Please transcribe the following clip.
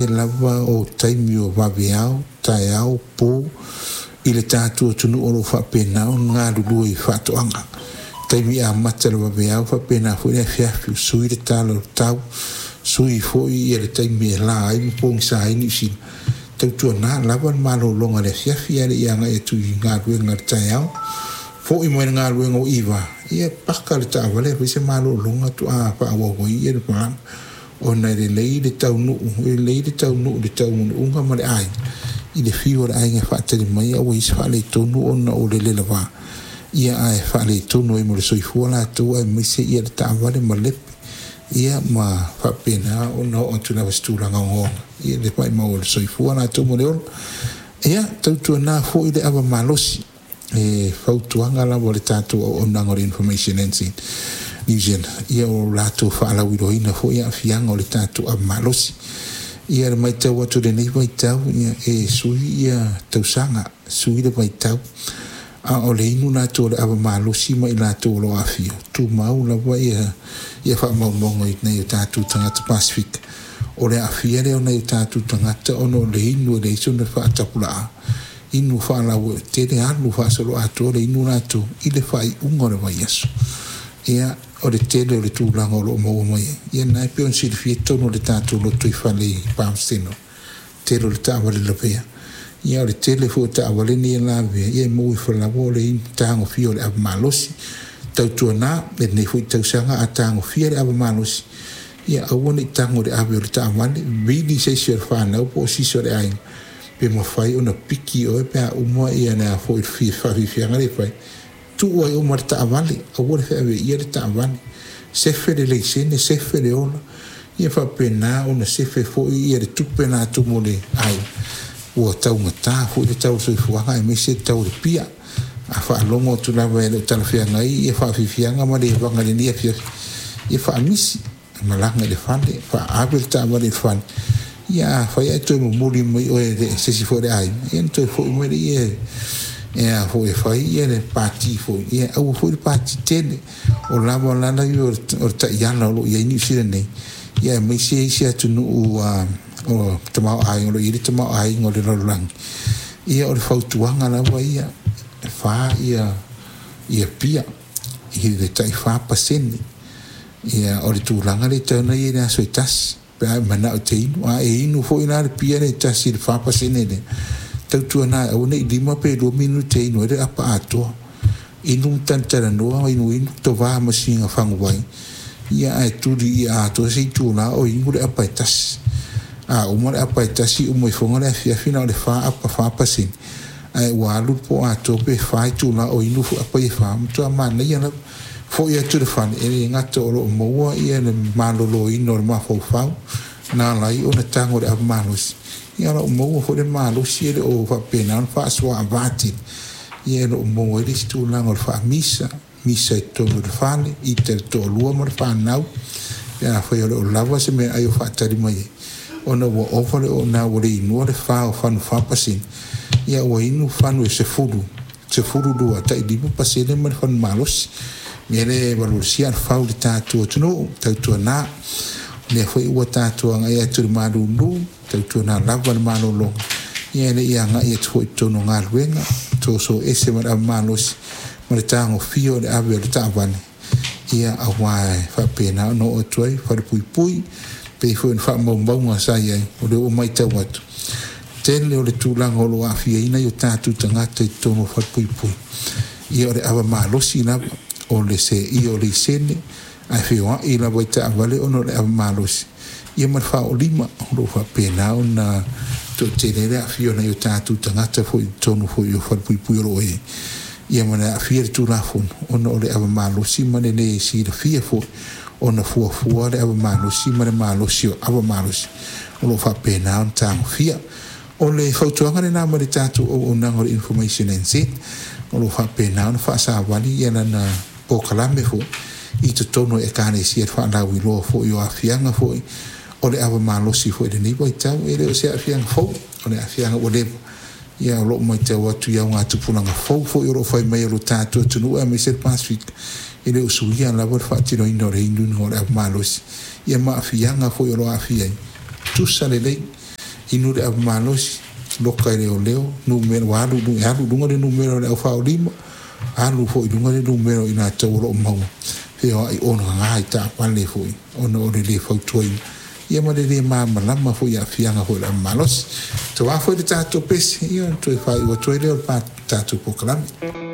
Lava o taimi o vaveao, taeao, po i le tatou atunuu o lo o faapena ona galulue i faatoaga. Taimi amata o le vaveao faapena foi le afiafi, sui le tala o le tau, sui foi ia le taimi e la ai ma pogisa ai Niu Sila. Tautuana lava le malologa i le afiafi ae le i agai atu i galuega i le taeao. Foi mai le galuega ua 9, ia paka le taavale e fai se malologa faatoa faaauau ai le malaga, ona e lelei le taunuu, e lelei le taunuu i le taunuuga ma le aiga i le fiu o le aiga e faatali mai ae ua i ai se faaletonu ona o le lelava, ia ae faaletonu ai ma le soifua latou aemaise le taavale malepe, ia ma faapena ona oo atu lava i se tulaga ogaoga le maumau e le soifua latou ma le ola. Ia tautuana foi le ava malosi, e fautuaga lava o le tatou auaunaga o le Information NZ New Zealand, ia o latou faalauiloaina foi aafiaga o le tatou ava malosi. Ia le matau atu i lenei vaitau, ia e sui ia tausaga, sui le vaitau, a o le inu latou o le ava malosi ma i latou o lo o aafia, tumau lava ia faamaumauga i nai o tatou tagata Pasefika, o le aafia lea o nai o tatou tagata ona o le inu e leai sona faatapulaa, inu faalauaitele, alu faasoloatoa le inu latou i le faaiuga o le vaiaso. Ia o le tele o le tulaga o lo o maua mai ai, ia lena e pei ona silafia totonu o le tatou lotoifale i Palmsteno, tele o le taavale lavea. Ia o le tele foi o taavale nei e lavea, ia e maua ifo lava o le tagofia o le ava malosi. Tautuana lenei foi tausaga a tagofia le ava malosi, ia aua ne i tago i le ave o le taavale, vili se isi o le fanau po o se isi o le aiga pe mafai ona piki oe pe a uma ia le a foi le faafiafiaga lea e fai, tuu ai uma le taavale, aua le feaveaia le taavale, sefe le laisene, sefe le ola, ia faapena ona sefe foi ia le tupe latou mo le aiga. Ua taugata foi le tau o le soifuaga aemaise le tau o le pia. A faalogo atu lava e le o talafeagai ia faafiafiaga ma levaga i lenei afiafi, ia faamisi, malaga i le fale, ave le taavale i le fale, ia afai ae toe momoli mai oe e se isi foi o le aiga, ia ona toe foi mai lea e a foi e fai ia le pati foi, ia aua foi le pati tele. O lava lala ia o le taiala o lo o i ai Niu Sila nei, ia aemaise isi atunuu o tamaoaiga, o lo o i ai le tamaoaiga o le lalolagi, ia o le fautuaga lava ia, e 4 ia pia i le tai 4%. Ia o le tulaga lea e tatau ona i ai i le aso e tasi, pe a e manao e te inu. A e inu foi la le pia lea e tasi i le 4% lea, tautuana aua ne i 5 pe 2 minute e inu ai le apa atoa. Inu ma talatalanoa, inuinu tova ma sina faguvai, ia ae tuli ia atoa se itula o inu le apa e tasi. A uma le apa e tasi, uma ifoga le afiafi na o le 4 apa 4%, ae ua alu le po atoa pe 4 itula o inu apa ia e 4, matua manaia lava. Foi atu i le fale, e le gata o lo o maua ia le maloloina o le mafaufau, na ala ai ona tago i le ava malosi, ia o lo o maua foi le malosi e le o faapena ona faasoaava tele, ia e lo o maua ai le isi tulaga o le faamisa, misa i totonu o le fale, ita i le toalua ma le fanau, pe afai o le o lava se meaai o faatali mai ai, ona ua ova le ona ua le inua le 4 o fanu 4%, ia ua inu fanu e 10, 12, tai 5% ma le fanu malosi. Mea lea e valuvalusia alafau i le tatou atunuu, tautuana. Lea foi ua tatou agai atu i le malulu, tautuana lava le malologa, ia e le i agai atu foi i totonu o galuega, soso ese ma le ava malosi ma le tagofia o le ave o le taavale, ia aua e faapena ona oo atu ai falepuipui, pei foi ona faamaumauga sa i ai, o lea ua matau atu, tele o le tulaga o lo o aafiaina i o tatou tagata i totonu o falepuipui, ia o le ava malosi lava, o le seia o laisene, ae feoai lava i taavale ona o le ava malosi, ia ma le faaoolima, o lo o faapena ona toatele ai le aafia o nai o tatou tagata foi i totonu foi o falepuipui o lo o i ai, ia ma le aafia i le Tulafono ona o le ava malosi ma le le silafia foi ona fuafua le ava malosi ma le malosi o ava malosi o lo o faapena ona tagofia. O le fautuaga lena mai le tatou auaunaga o le Information NZ, o lo o faapena ona faasavali ia lana polokalame foi i totonu o Ekalesia i le faalauiloa foi o aafiaga foi o le ava malosi foi i lenei vaitau. E le o se aafiaga fou, o le aafiaga ua leva, ia o lo o matau atu i augatupulaga fou foi o lo o fai mai e lo tatou atunuu aemaise le Pasefika, e le o suia lava le faatinoina o le inuinuga o le ava malosi, ia ma aafiaga foi o lo o aafia ai, tusa lelei. Inu le ava malosi, loka i leoleo, numera ua alu e alu i luga le numera o le aufaaolima, alu foi i luga le numera o i latou o lo o maua feoai ogaga i taavale foi ona o le lē fautuaina ia ma le lē malamalama foi i aafiaga foi o le ava malosi. Tauā foi le tatou pese, ia ona toe faaiu atu ai lea o le tatou polokalame.